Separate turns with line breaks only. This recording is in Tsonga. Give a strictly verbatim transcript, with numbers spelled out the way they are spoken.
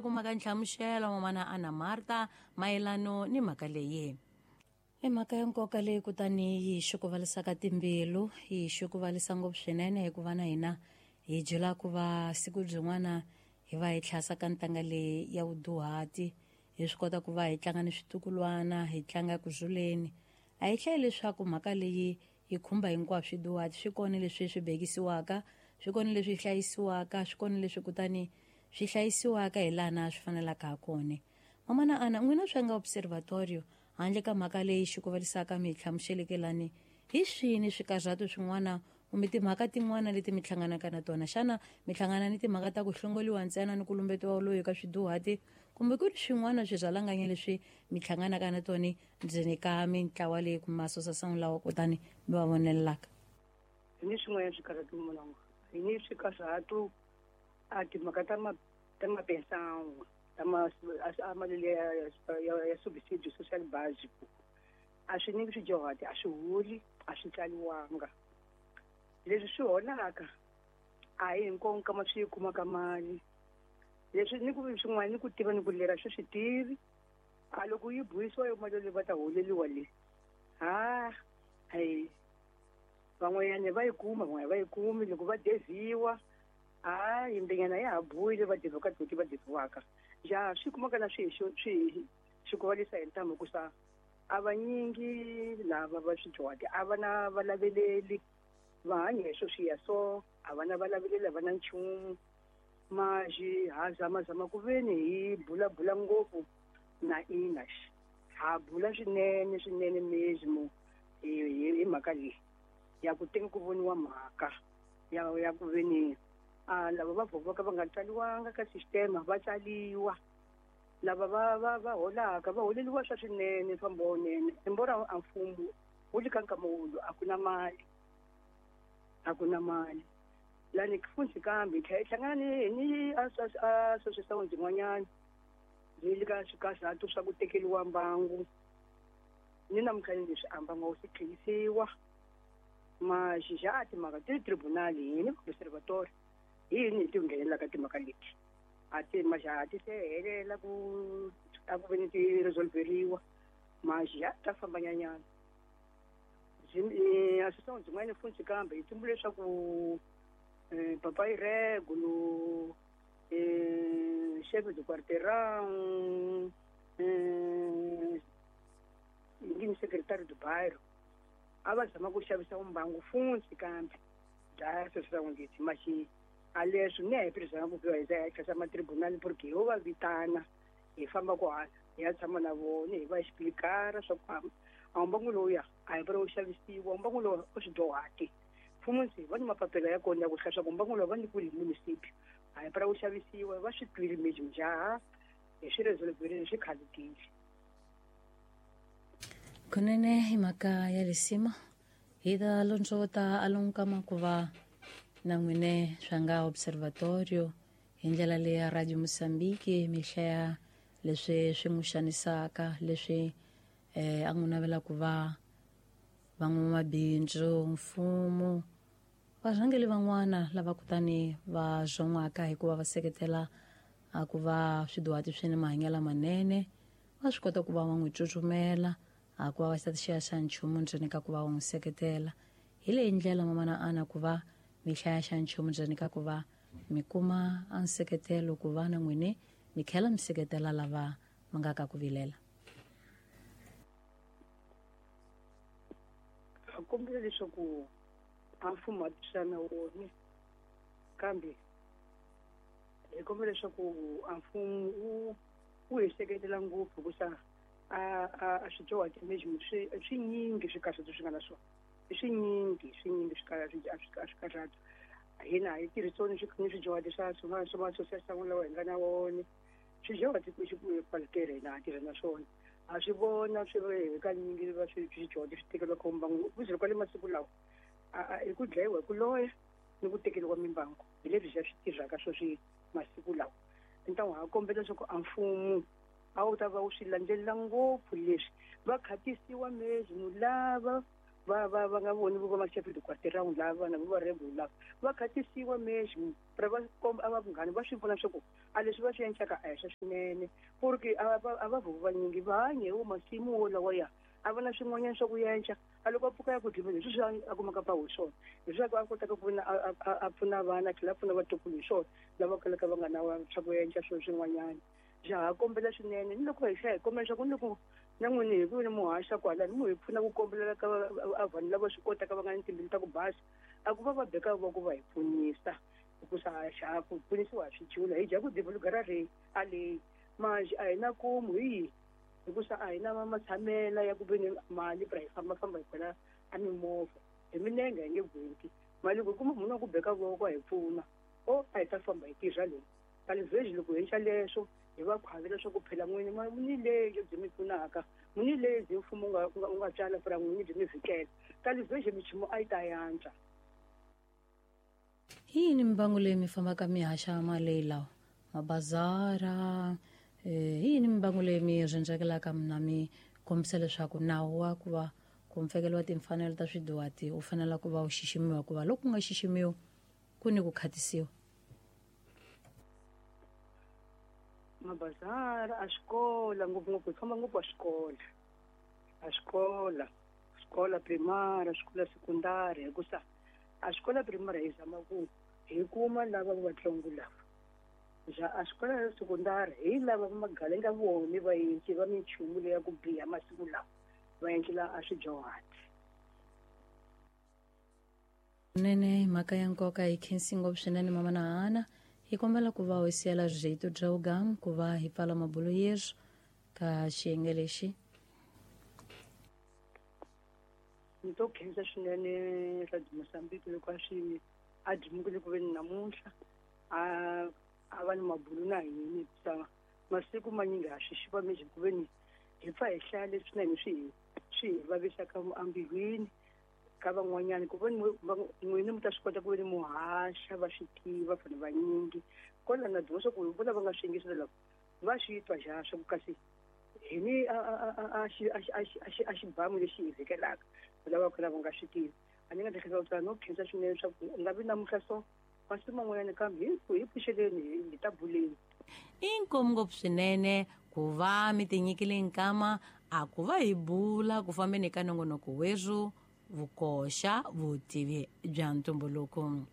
Kumaka nhlamuselo mamana Ana Marta mayelano ni mhaka leyi. I mhaka ya nkoka leyi kutani yi xukuvalisaka timbilu, yi xukuvalisa ngopfu swinene hikuva na hina hi byela ku va siku byin'wana hi va hi tlhasa ka ntanga leyi ya vuduhati, hi swi kota ku va hi tlanga ni switukulwana, hi tlanga ku zuleni. A hi hlayi leswaku mhaka leyi yi khumba hinkwaswo swiduhati, swi kona leswi swi bekisiwaka, swi kona leswi hlayisiwaka, swi kona leswi kutani swi hlayisiwaka hi laha na swi fanelaka ha kona. Mamana Ana, n'wina swi nga observatorio handle ka mhaka leyi xikuvalisaka mi hi hlamuseleke lani, hi swini swikarhato swin'wana kumbe timhaka tin'wana leti mi hlanganaka na tona? Xana mi hlangana ni timhaka ta ku hlongoliwa ntsena ni ku lumbetiwa loyi ka swiduhati, kumbe ku ri swin'wana swirhalanganya leswi mi hlanganaka na tona ndzeni ka mintlawa leyi kumbe masosasana lawa kutani mi va vonelelaka?
Hi ni swin'wana swikarhato munongo, hi ni swikarhato a timhaka ta ma ta mapensangu ta ma a mali ya ya subsidio social básico a swi nyiki swidyuhati, a swi holi, a swi tsaliwanga. Leswi swi holaka a hi hinkwako kama swi kumaka mali. Leswi ni ku swin'wana ni ku tiva ni ku lera swi swi tivi. A loko yi buyisiwa yo mali leyi va ta holeliwa le, ha hayi van'wanyana va yi kuma, van'wanyana va yi kumi. Loko va deviwa, ha yimbenyana ya ha buyile va deviwa ka toti va deviwaka. Ja swi kumaka na swi swi swi kuvalisa hi ntamu hikusa a vanyingi lava va swidyuhati a va na valaveleli, va hanya hi swo swiya so a va na valaveleli, a va na nchumu. Maxi ha zamazama ku veni hi bulabula ngopfu na ina ha bula swinene swinene mesmo hi hi mhaka leyi ya ku teka ku voniwa mhaka ya ya ku veni a lava va vovaka va nga tsaliwanga ka sistema va tsaliwa, lava va va va holaka va holeliwa swa swinene swa mbonene. Embora a mfumo wu le ka nkama wulu a ku na mali, a ku na mali lani futhi kambe hi tlhela hi hlangana ni ni association yin'wanyana yi le ka swikarhato swa ku tekeriwa mbangu. Ni namuntlha ni leswi a mbangu wu se tlherisiwa maxixa timhaka ti tribunal hi ni observatory hi yini hi ti nghenelelaka timhaka leti a ti majaha ti se helela ku a ku veni ti resolveriwa maxixa ta fambanyanyana. Association yin'wana futhi kambe yi tumbule leswaku papa Irregulo, chef de quarteirão, ngini secretário do bairro a va zama ku xavisa mbangu futhi kambe bya association leti maxi a leswi ni a hi tirhisana ku hi za hi tlhasa matribunal porque ho va vitana hi famba ku hala hi ya tshama na vona hi va explicar swa ku a mbangu lowuya a hi vula wu xavisiwa, mbangu lowu u swidyuhati mfumo ndzi va ni mapapila ya kona ya ku hlaya swa ku mbangu lowu va nyikiwile hi municipio a hi vula wu xavisiwa. Va swi twile mesmo njaha hi swi resolverile swi khalekile.
Kunene hi mhaka ya lisima hi ta londzota alonka ku va na n'wine swa nga observatorio hi ndlela leyi ya Radio Mozambique mi hlaya leswi swi n'wi xanisaka, leswi eh a n'wi navela ku va van'wamabindzu, mfumo, varhangeli van'wana lava kutani va zon'waka hikuva va seketela a ku va swiduhati swi ni mahanyelo lamanene, va swi kota ku va va n'wi tsutsumela a ku va va xi xa nchumu ndzeni ka ku va va n'wi seketela. Hi leyi ndlela mamana Ana ku va mi hlaya xa nchumu ndzeni ka ku va mi kuma a nseketelo ku va na n'wini mi tlhela mi seketela lava va nga ka ku vilela.
Ha kombela leswaku a mfumo a tirhisana wona, kambe hi kombela leswaku a mfumo wu wu hi seketela ngopfu hikusa a a swidyuhati mesmo swi swinyingi swikarhato swi nga na swona, i swinyingi swinyingi swikarhato. Hina hi tirhisoni ni swidyuhati swa swa swa association lawa hi nga na wona swidyuhati qualquer hina ha tirha na swona ha swi vona swi ri kanyingi va swi swidyuhati swi tekeriwa ka mbangu ku kwale masiku lawa i ku dlayiwa hi ku loya ni ku tekeriwa mimbangu hi leswi swi tirhaka swo swi masiku lawa. Ntangu ha kombela leswaku a mfumo a wu ta va wu swi landzelela ngopfu leswi va khatisiwa mesmo lava Va va va nga voni vo va chef de quartier round lava vana vo va rebel lava va khatisiwa mesmo pra va komba a va vunghana va swi vona swa ku a leswi va swi endlaka a hi swa swinene porque a va a va vanyingi va hanye wo masimu wo lawa ya a va na swin'wanyana swa ku yenca a loko a pfuka ya ku dliveni hi sweswi a kumaka pa hi swona leswaku a kotaka ku a pfuna vana a tlhela a pfuna vatukulu hi swona lava kalaka va nga na swa ku yenca swilo swin'wanyana. Ja ha kombela swinene ni loko hi hlaya hi kombela leswaku ni loko na n'wini hi ku ni muhaxa kwalani mu hi pfuna ku kombelela ka a vanhu lava swi kotaka va nga ni timbilu ta ku basa a ku va va beka voko va hi pfunisa hikusa xa ku pfunisiwa hi swidyula hi dya ku divulugara re a leyi manje a hi na kumu hi hikusa a hi na matshamela ya ku ve ni mali pra hi fambafamba hi khwela a mimovha hi minenge hi nge gwenti mali loko hi kuma munhu wa ku beka voko a hi pfuna o a hi ta famba hi tirha leyi kalivheji loko hi endla leswo hi va khwavela swa ku phela n'wini ni leyi byi mi pfunaka n'wini leyi byi mfumo u nga u nga tswala pra n'wini byi mi vhikela kalivheji michumu a yi ta yantswa.
Hi yini mimbangu leyi mi fambaka mi haxa mali lawa mabazara eh hi yini mimbangu leyi mi rhendzekelaka mina mi kombisa leswaku nawu wa ku va ku mfekelo wa timfanelo ta swidyuhati u fanele ku va u xiximiwa ku va loko ku nga xiximiwi ku ni ku khatisiwa?
Mabazara a xikola ngopfungopfu hi famba ngopfu a xikola a xikola xikola primary xikola sekundari hikusa a xikola primary hi zama ku hi kuma lava va vatsongo lava ja a xikola ya sekundari hi lava va magalenga voni va endli va minchumu leya ku biha masiku lawa va endlela a swidyuhati.
Nene mhaka ya nkoka hi khensi ngopfu swinene mama na Hana. Hi kombela ku va u siyela rito drawgam ku va hi pfala mabulo yesu ka xiyenge lexi.
Ni to khensa swinene Radio Mozambique loko a swi a dimukile ku ve ni namuntlha a a va ni mabulo na hina hikusa masiku manyingi ha swi xiva mejhi ku ve ni hi pfa hi hlaya leswi na hina swi hi swi hi vavisaka embilwini ka van'wanyana ku ve ni n'wini mi ta swi kota ku ve ni muhaxa va swi tiva vanhu vanyingi kwala na dyondza ku vo lava nga swi yingisela lava va swi twa ja swa ku kasi hi ni a a xi a xi a xi a xibamu lexi hi vhekelaka lava ka lava nga swi tivi a ni nga ta tlhela ku no khensa swinene swa ku nga vi namuntlha so masiku man'wanyana kambe hi hi pfuxeleni hi ta buleni.
Inkomu ngopfu swinene ku va mi tinyikile nkama a ku va hi bula ku fambeni ka nongonoko werhu vukoxa vutivi bya ntumbuluko.